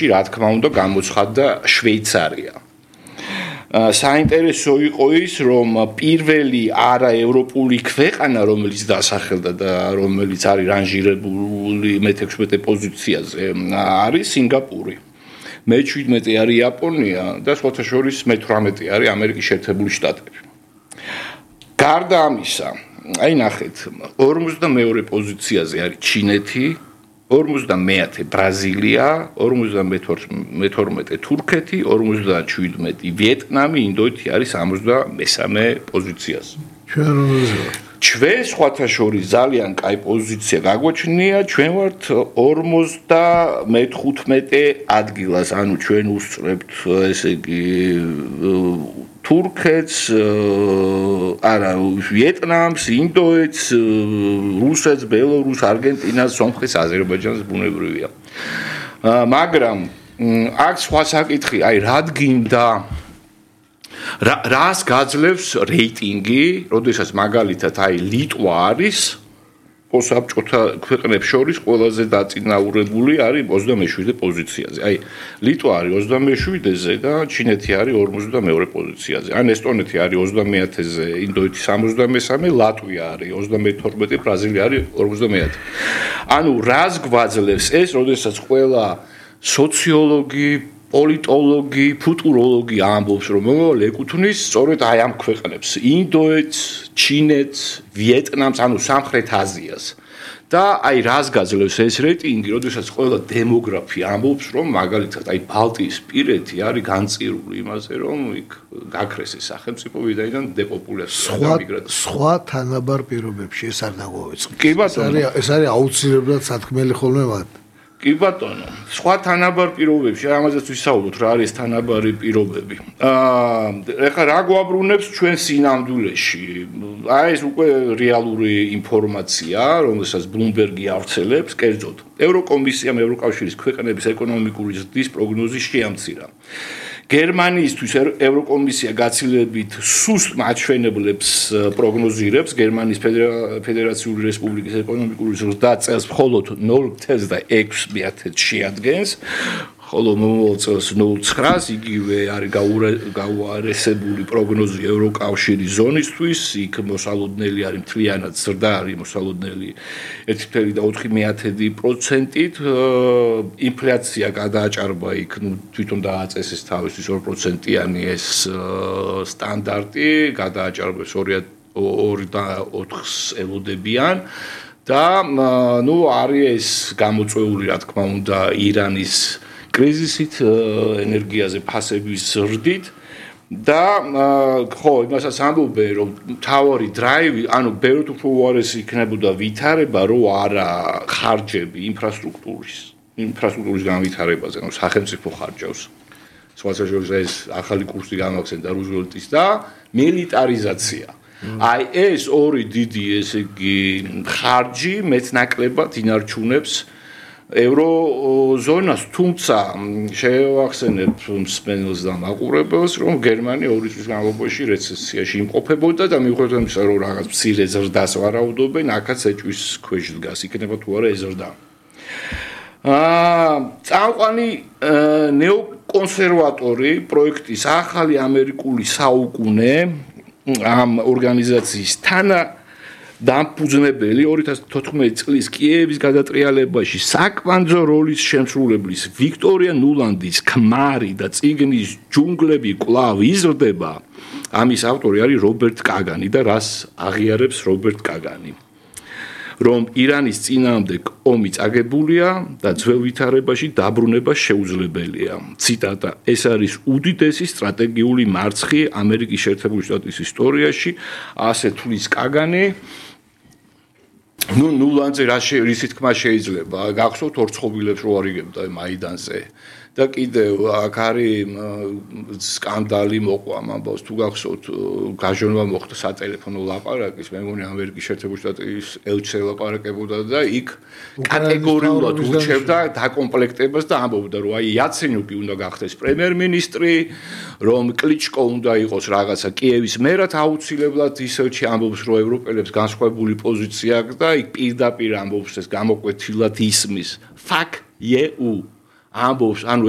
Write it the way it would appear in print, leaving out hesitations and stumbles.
შემთხვევაში, რა თქმა უნდა, გამოცხადდა შვეიცარია. საინტერესო იყო ის, რომ პირველი არაევროპული ქვეყანა, რომელიც დასახელდა და რომელიც არის რანჟირებული მე-16 პოზიციაზე, არის სინგაპური. მე-17 არის იაპონია და სხვათა შორის მე-18 არის ამერიკის შეერთებული შტატები. გარდა ამისა, აი ნახეთ, 42 პოზიციაზე არის ჩინეთი, 59 ბრაზილია, 52 თურქეთი, 57 ვიეტნამი, ინდოეთი არის 63 პოზიციაზე. ჩვენ სხვათა შორის ძალიან კაი პოზიცია გაგვაჩნია, ჩვენ ვართ 55 ადგილას, ანუ ჩვენ უსწრებთ, ესე იგი, თურქეთს, არა, ვიეტნამს, ინდოეთს, რუსეთს, ბელორუსს, არგენტინას, სომხეთს, აზერბაიჯანს ბუნებრივია. მაგრამ აქ სხვა საკითხი, აი რად გინდა რას გაძლევს რეიტინგი, როდესაც მაგალითად აი ლიტვა არის პოსაბჭოთა ქვეყნებს შორის ყველაზე დაწინაურებული არის 27 პოზიციაზე. აი ლიტვა არის 27-ზე და ჩინეთი არის 52 პოზიციაზე. ან ესტონეთი არის 30-ზე, ინდოეთი 63, ლატვია არის 32, ბრაზილია არის 50. ანუ რას გვაძლევს ეს, როდესაც ყველა სოციოლოგი, პოლიტოლოგი, ფუტუროლოგი ამბობს, რომ მომავალ ეკუთვნის სწორედ აი ამ ქვეყნებს, ინდოეთს, ჩინეთს, ვიეტნამს, ანუ სამხრეთ აზიას. და აი რას გაძლევს ეს რეიტინგი, როდესაც ყველა დემოგრაფი ამბობს, რომ მაგალითად აი ბალტიისპირეთი არის განწირული იმაზე, რომ იქ გაქრეს ეს სახელმწიფო ვიდრე დეპოპულაცია და მიგრაცია. სხვა თანაბარ პირობებში ეს არ დაგვეწყო. კი ბატონო, ეს არის აუცილებლად სათქმელი ხოლმე მათ. კი ბატონო, სხვა თანაბარ პირობებში, ამაზეც ვისაუბროთ, რა არის თანაბარი პირობები. ეხლა რა გვაბრუნებს ჩვენ სინამდვილეში? აი ეს უკვე რეალური ინფორმაცია, რომელსაც Bloomberg-ი ავრცელებს, კერძოდ, ევროკომისიამ ევროკავშირის ქვეყნების ეკონომიკური ზრდის პროგნოზი შეამცირა. გერმანიისთვის ევროკომისია გაცილებით სუსტ მაჩვენებლებს პროგნოზირებს გერმანიის ფედერაციული რესპუბლიკის ეკონომიკური ზრდა წელს მხოლოდ 0.6% შეადგენს, ხოლო მომავალ წელს 0.9 იგივე არის გაუარესებული პროგნოზი ევროკავშირის ზონისთვის, იქ მოსალოდნელი არის მთლიანად ზრდა არის მოსალოდნელი 1.4%-ით, ინფლაცია გადააჭარბა იქ თვითონ დააწესეს თავისთვის 2%-იანი ეს სტანდარტი, გადააჭარბეს 2.4-ს ელოდებიან და ნუ არის ეს გამოწვეული, რა თქმა უნდა, ირანის კრიზისით, ენერგიაზე ფასების ზრდით და ხო, იმასაც ამბობენ, რომ თავარი დრაივი, ანუ ბევრად უფრო უარესი იქნებოდა ვითარება, რო არა ხარჯები ინფრასტრუქტურის განვითარებაზე, ანუ სახელმწიფო ხარჯავს. სხვათა შორის ეს ახალი კურსი გამახსენდა რუზველტის და მილიტარიზაცია. აი ეს ორი დიდი, ესე იგი, ხარჯი მეტნაკლებად ინარჩუნებს ევროზონას, თუმცა შევახსენებ მსმენელს და მაყურებელს, რომ გერმანია 2 წლის განმავლობაში რეცესიაში იმყოფებოდა და მიუხედავად იმისა, რომ რაღაც მცირე ზრდას ვარაუდობენ, აქაც ეჭვის ქვეშ დგას, იქნება თუ არა ეს ზრდა. წამყვანი ნეოკონსერვატორი პროექტის ახალი ამერიკული საუკუნე ამ ორგანიზაციის დამფუძნებელი 2014 წლის კიევის გადატრიალებაში საკვანძო როლის შემსრულებლის ვიქტორია ნულანდის ქმარი და წიგნის ჯუნგლები კვლავ იზრდება. ამის ავტორი არის რობერტ კაგანი და რას აღიარებს რობერტ კაგანი? რომ ირანის წინააღმდეგ ომი წაგებულია და ძველ ვითარებაში დაბრუნება შეუძლებელია. ციტატა: ეს არის უდიდესი სტრატეგიული მარცხი ამერიკის შეერთებული შტატების ისტორიაში, ასე თulis კაგანი. ნულანძე რის თქმა შეიძლება გახსოვთ ორცხობილებს რო არიგებდა მაიდანზე და კიდევ აქ არის სკანდალი მოყვა ამბავს თუ გახსოვთ გაჟონვა მოხდა სატელეფონო ლაპარაკის მე მგონი ამერიკის შეერთებული შტატების ელჩი ლაპარაკებოდა და იქ კატეგორიულად ურჩევდა დაკომპლექტებას და ამბობდა რომ აი იაცენიუკი უნდა გახდეს პრემიერ-მინისტრი რომ კლიჩკო უნდა იყოს რაღაცა კიევის მერად აუცილებლად ისევ ამბობს რომ ევროპელებს განსხვავებული პოზიცია აქვს და იქ პირდაპირ ამბობს ეს გამოკვეთილად ისმის fuck you ამბობს ანუ